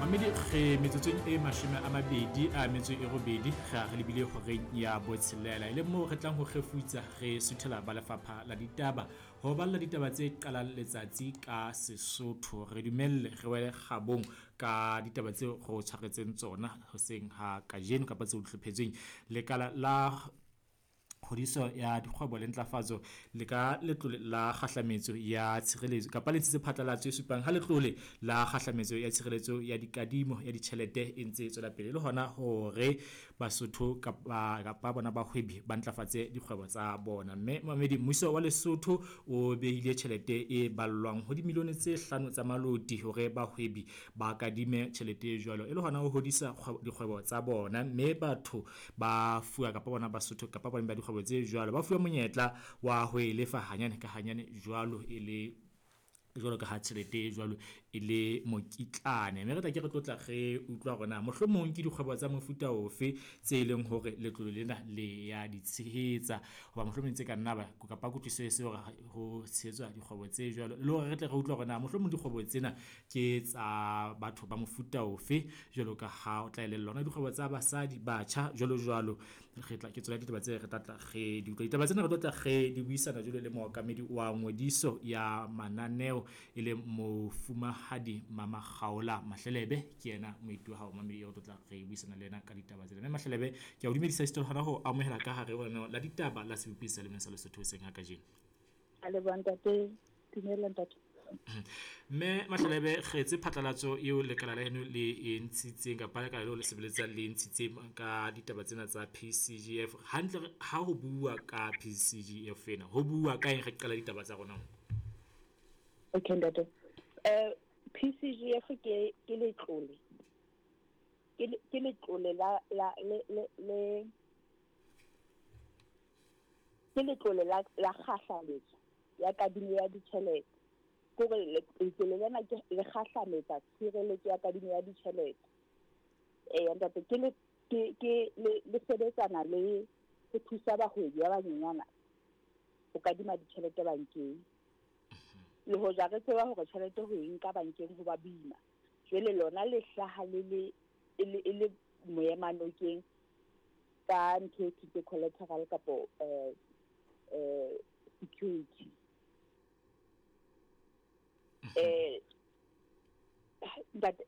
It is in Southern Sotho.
Mamedi re metsotsong e 28 re a re lebile horeng ya botshelela, e le moo re tlang ho kgefutsa re suthela ba lefapha la ditaba ho balla ditaba tse qalang letsatsi ka Sesotho. Re dumelle re wele kgabong ka ditaba tseo re o tshwaretseng tsona hoseng ha kajeno kapa tseo di hlophetsweng. Lekala la kgodiso ya dikgwebo le ntlafatso le ka letlole la kgahlametso ya tshireletso kapa le ntshitse phatlalatso e supang ha letlole la kgahlametso ya tshireletso ya dikadimo ya ditjhelete e ntse e tswela pele le hona hore Basotho kapa bona bahwebi ba ntlafatse dikgwebo tsa bona. Mme mamedi, mmuso wa Lesotho o behile tjhelete e ballwang ho dimilione tse 5 tsa maloti hore bahwebi ba kadime tjhelete e jwalo e le hona ho hodisa dikgwebo tsa bona. Mme batho ba fuwa kapa bona Basotho kapa bona ba dikgwebo tse jwalo ba fuwa monyetla wa ho e lefa hanyane ka hanyane jwalo e le jwalo ka ha tjhelete e jwalo e le mokitlane. Mme re tla ke re tlotla re utlwa hore na mohlomong ke dikgwebo tsa mofuta ofe tse leng hore letlole lena le ya di tshehetsa, hoba mohlomong tse ka nna ba kapa kutlwisiso e se hore ho tshehetswa dikgwebo tse jwalo, le hore re tle re utlwe hore na mohlomong dikgwebo tsena ke tsa batho ba mofuta ofe, jwalo ka ha o tla elellwa hona dikgwebo tsa basadi, batjha jwalo jwalo. Re tla ke tsona ditaba tse re tla tla re di utlwa. Ditaba tsena re tlo tla re di buisana jwalo le mookamedi wa ngodiso ya mananeo e leng mofumahadi Mamagaola Mahlelebe. Ke yena moeti wa hao mamedi eo re tlo tla re buisana le yena ka ditaba tsena. Mme Mahlelebe, ke a o dumedisa esita le hona ho amohela ka hare ho lenaneo la ditaba la sebopi sa lemeng sa Lesotho hoseng ha kajeno. A leboha ntate. Dumela ntate. Mme Mahlelebe, re etse phatlalatso eo lekala la heno le e ntshitseng kapa lekala leo le sebeletsang le ntshitseng ka ditaba tsena tsa PCGF. Hantle ha ho bua ka PCGF ena, ho bua ka eng re qala ditaba tsa rona? Okay ntate. PCGF ke letlole. Ke letlole la la le le le ke letlole la la kgahlametso ya kadimo ya ditjhelete. Kore letlole lena ke le kgahlametsa tshireletso ya kadimo ya ditjhelete. Ntate ke le ke le sebetsana le ho thusa bahwebi ba banyenyana ho kadima ditjhelete bankeng. Le hoja re tseba hore tjhelete ho e nka bankeng ho ba boima, jwale lona le hlaha le le e le moemanokeng ka ntho e thweng ke collateral kapo security. Ntate,